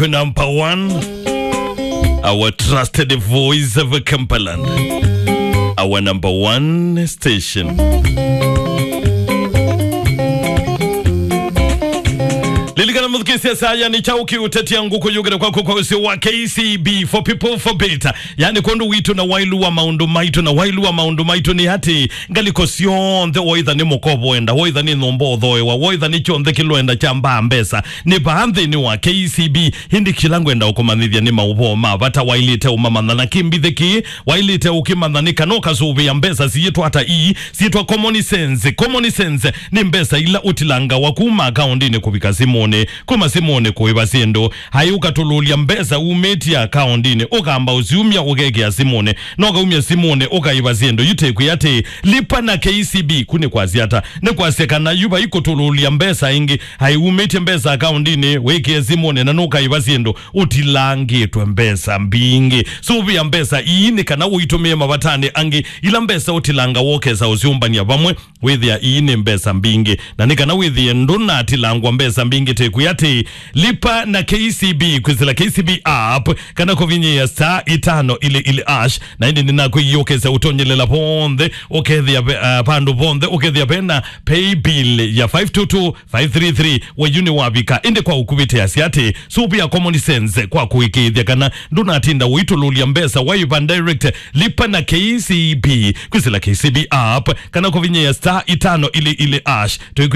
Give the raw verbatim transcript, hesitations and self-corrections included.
Number one, our trusted voice of Kampaland, our number one station. Lilikana mũthukĩĩsya saa, yani, kyaũ kĩũtetia ngũkũ yũkĩte kwaku kwa ũsĩ wa K C B, for people, for better. Yani, kwondũ witũ na wailu wa maũndũ maitũ, na wailu wa maũndũ maitũ nĩ atĩ, ngalĩko syonthe, woitha nĩ mũkovo wenda, woitha nĩ nyũmba ũthoewa, woitha nĩ kyonthe kĩlwenda kya mbaa mbesa, nĩ vaa nthĩnĩ wa K C B. Ĩndĩ kĩla ngwenda ũkũmanyĩthya nĩ maũvoo ma vata wailĩte ũmamanya, na kĩmbithĩ kĩĩ wailĩte ũkĩmanya nĩ kana ũkasũvĩa mbesa siĩtwa ata ii, siĩtwa common sense. Common sense nĩ mbesa ila ũtilangawa kuma akaũndinĩ kũvika simũnĩ, kuma simũnĩ kũĩva syĩndũ. Hai ũkatũlũlya mbesa umĩtye akaũndinĩ, ũkamba ũsiumya ũkekĩa simũnĩ, na ũkaumya simũnĩ ũkaĩva syĩndũ. Yu tĩkwĩ atĩ, lipa na K C B, ku nĩ kwasya ata? Nĩ kwasya kana yu vai kũtũlũlya mbesa ĩngĩ. Hai umĩtye mbesa akaũndinĩ, wĩkĩe simũnĩ, na nũkaĩva syĩndũ ũtilangĩtwe mbesa mbingĩ. Sũvĩa mbesa ii nĩ kana ũitũmĩe mavatanĩ angĩ. Ila mbesa ũtilanga wokesa ũsyũmbany'a vamwe, wĩthĩa ii nĩ mbesa mbingĩ, na nĩ kana wĩthĩe ndũnatilangwa mbesa mbingĩ. Tĩkwĩ atĩ, lipa na K C B kwĩsĩla K C B app kana kũvinyĩĩa star itano ili ili ash, na ĩndĩ nĩnakwĩie ũkesa ũtonyelela vonthe, ũkethĩa ve-, ah, vandũ vonthe, ũkethĩa vena pay bill ya five two two five three three, we yu nĩwavika. Ĩndĩ kwa ũkuvĩ teasya atĩ, sũvĩa common sense kwa kũĩkĩĩthya kana ndũnatinda ũitũlũlya mbesa waĩva direct. Lipa na K C B kwĩsĩla K C B app kana kũvinyĩĩa star itano ili ili ash. Tũikwĩ-